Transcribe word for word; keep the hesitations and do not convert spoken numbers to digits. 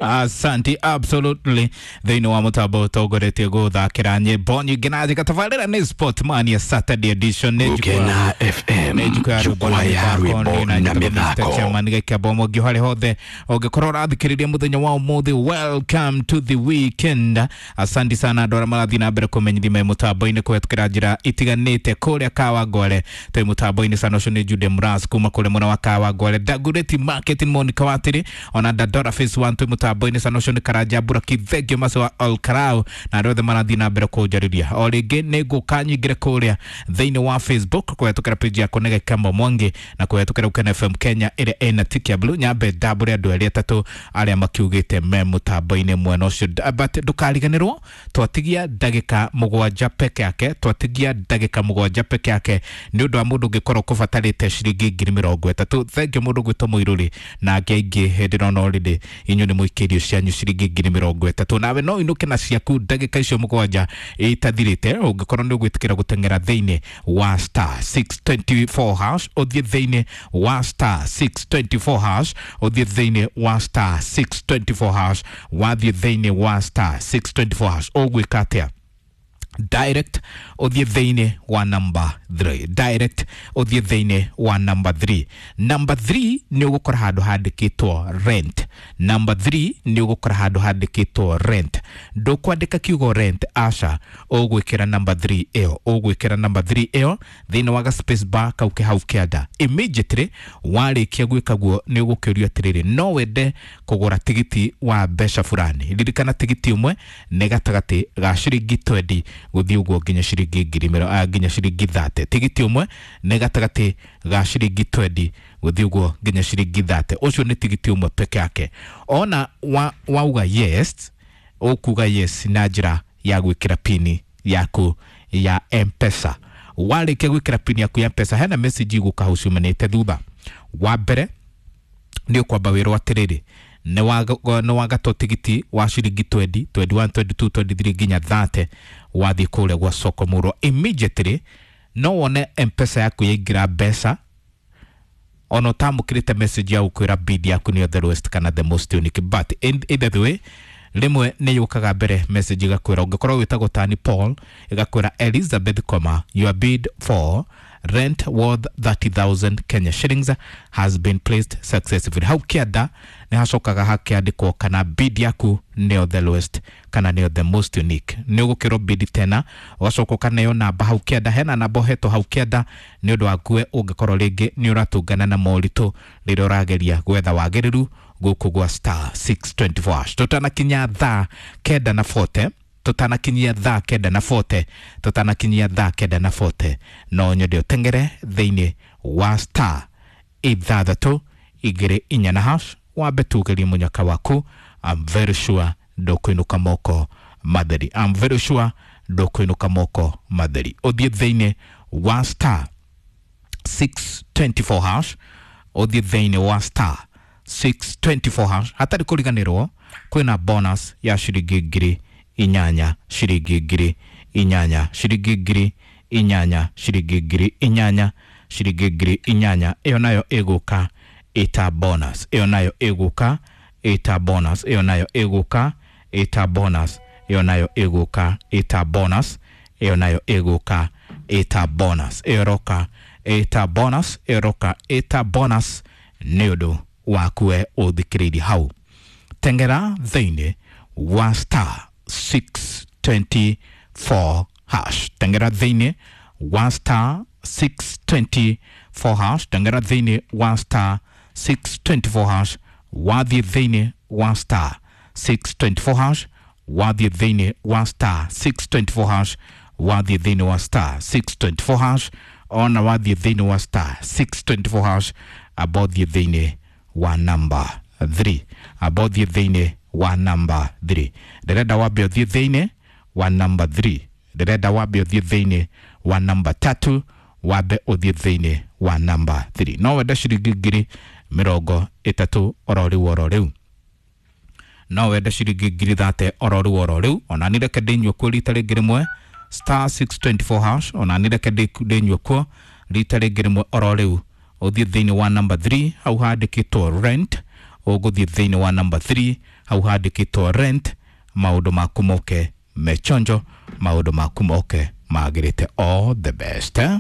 Asante, absolutely. Thĩinĩ wa mũtambo ũtongoretie gũthakĩra nyĩmbo nyingĩ na njĩka tabarĩra nĩ Sport Mania Saturday edition. Nĩ jukwaa Gukena F M, nĩ jukwaa ya jukwaa ya rwĩmbo na mĩthako. Chairman Gĩkĩamba Mwangi harĩ hothe ũngĩkorwo ũrathikĩrĩria mũthenya wa ũmũthĩ, welcome to the weekend. Asante sana andũ arĩa marathiĩ na mbere kũmenyithia me mũtambo-inĩ kũhetũkĩra njĩra itiganĩte. Kũrĩa Kawangware twĩ mũtambo-inĩ sana, ũcio nĩ Jude Mras kuma kũrĩa mwena wa Kawangware, Dagoretti Market Monica Watiri, ona Dandora Phase one twĩ mũtambo-inĩ sana, ũcio nĩ Karanja Buraki, thengio macio wa Olkarau na arĩa othe marathiĩ na mbere kũnjarĩria. O rĩngĩ nĩ ngũka nyingĩre kũrĩa thĩinĩ wa Facebook kũhetũkĩra page yakwa nĩ Gĩkamba Mwangi na kũhetũkĩra Ukena F M Kenya ĩrĩa ĩna tiki ya blue, nyambe ndambũre andũ erĩ atatũ arĩa makiugĩte me mũtambo-inĩ mwena ũcio. But ndũkariganĩrwo twatigia ndagĩka mũgwanja peke yake, twatigia ndagĩka mũgwanja peke yake nĩ ũndũ wa mũndũ ũngĩkorwo kũbatarĩte ciringi ngiri mĩrongo ĩtatũ. Thengio mũndũ gwĩtwo Mũirũrĩ na angĩ aingĩ hĩndĩ ĩno already inyuĩ nĩ mũikĩirio cianyu ciringi ngiri mĩrongo ĩtatũ, nawe no inũke na ciaku ndagĩka icio mũgwanja itathirĩte ũngĩkorwo nĩ ũgwĩtĩkĩra gũteng'era thĩinĩ wa star six twenty-four hash, ũthiĩ thĩinĩ wa star six twenty-four hash, ũthiĩ thĩinĩ wa star six twenty-four hash. Wathiĩ thĩinĩ wa star six twenty-four hash ũgwĩka atĩa? Direct ũthiĩ thĩinĩ wa number three, direct ũthiĩ thĩinĩ wa number three. Number three nĩ ũgũkora handũ handĩkĩtwo rent. Number three nĩ ũgũkora handũ handĩkĩtwo rent. Ndũkwandĩka kiugo rent, aca, ũgwĩkĩra number three ĩyo, ũgwĩkĩra number three ĩyo thĩinĩ wa ga space bar kau ke hau kĩanda. Immediately warĩkia gwĩka guo nĩ ũgũkĩũrio atĩrĩrĩ, no wende kũgũra tigiti wa mbeca fulani? Ririkana tigiti ũmwe nĩ gatagatĩ ga ciringi twenty gũthiĩ ũguo nginya ciringi ngiri mĩro- ah, nginya ciringi thirty. Tigiti ũmwe nĩ gatagatĩ ga ciringi twenty gũthiĩ ũguo nginya ciringi thirty. Ũcio nĩ tigiti ũmwe peke yake. Ona wa, wauga yes, ũkuga yes na njĩra ya gwĩkĩra pini yaku ya M-Pesa. Warĩkia gwĩkĩra pini yaku ya M-Pesa, hena message igũka hau ciumanĩte thutha. Wa mbere nĩ ũkwamba wĩrwo atĩrĩrĩ, nĩ wagatwo tigiti wa ciringi twenty, twenty-one, twenty-two, twenty-three nginya thirty wathiĩ kũrĩa gwa soko mũrwa. Immediately no wone M-Pesa yaku yaingĩra mbeca ona ũtamũkĩrĩte message ya gũkwĩra bid yaku nĩyo the lowest kana the most unique. But in, either the way, rĩmwe nĩ yũkaga mbere message ĩgakwĩra, ũngĩkorwo wĩtagwo tani Paul, ĩgakwĩra Elizabeth comma your bid for rent worth thirty thousand Kenya shillings has been placed successfully. Hau kĩanda nĩ hacokaga hakĩandĩkwo kana bid yaku nĩyo the lowest kana nĩyo the most unique. Nĩ ũgũkĩrwo bid tena, ũgacoka ũkaneo namba hau kĩanda. Hena namba ũhetwo hau kĩanda nĩ ũndũ wakue ũngĩkorwo rĩngĩ nĩ ũratũngana na moritũ rĩrĩa ũrageria gwetha wagĩrĩru gũkũ gwa star six twenty-four hash. Tũtanakinya thaa kenda na forty, tũtanakinyia thaa kenda na forty, tũtanakinyia thaa kenda na forty, no nyende ũteng'ere thĩinĩ wa star ithathatũ igĩrĩ inya na hash, wambe tugerie mũnyaka waku. I'm very sure ndũkũinũka moko matheri. I'm very sure ndũkũinũka moko matheri. Ũthiĩ thĩinĩ wa star six twenty-four hash, ũthiĩ thĩinĩ wa star six twenty-four hash. Hatarĩ kũriganĩrwo kwĩna bonus ya ciringi ngiri inyanya, ciringi ngiri inyanya, ciringi ngiri inyanya, ciringi ngiri inyanya, ciringi ngiri inyanya. Ĩyo nayo ĩgũka ĩta bonus, ĩyo nayo ĩgũka ĩta bonus, ĩyo nayo ĩgũka ĩta bonus, ĩyo nayo ĩgũka ĩta bonus, ĩyo nayo ĩgũka ĩta bonus, ĩyo ĩroka ĩta bonus, ĩyo ĩroka ĩta bonus nĩ ũndũ wakue ũthikĩrĩirie hau. Tengera thĩinĩ wa star six twenty-four hash, tengera thĩinĩ wa star six twenty-four hash, tengera thĩinĩ wa star six twenty-four hash. Wathiĩ thĩinĩ wa star six twenty-four hash, wathiĩ thĩinĩ wa star six twenty-four hash, wathiĩ thĩinĩ wa star six twenty-four hash, ona wathiĩ thĩinĩ wa star six twenty-four hash, amba ũthiĩ thĩinĩ wa number three, amba ũthiĩ thĩinĩ wa number three. Ndĩrenda wambe ũthiĩ thĩinĩ wa number three, ndĩrenda wambe ũthiĩ thĩinĩ wa number tatu, wambe ũthiĩ thĩinĩ wa number three. No wende ciringi ngiri mĩrongo ĩtatũ oro rĩu oro rĩu, no wende ciringi ngiri thate oro rĩu oro rĩu. Ona nĩ reke ndĩnyue kuo rita rĩngĩ rĩmwe, star six twenty-four hash. Ona nĩ reke ndĩnyue kuo rita rĩngĩ rĩmwe oro rĩu. Ũthiĩ thĩinĩ wa number three hau handĩkĩtwo rent. Ũgũthiĩ thĩinĩ wa number three, hau handĩkĩtwo rent. Maũndũ maku moke mechonjo, maũndũ maku moke magĩrĩte. All the best, eh?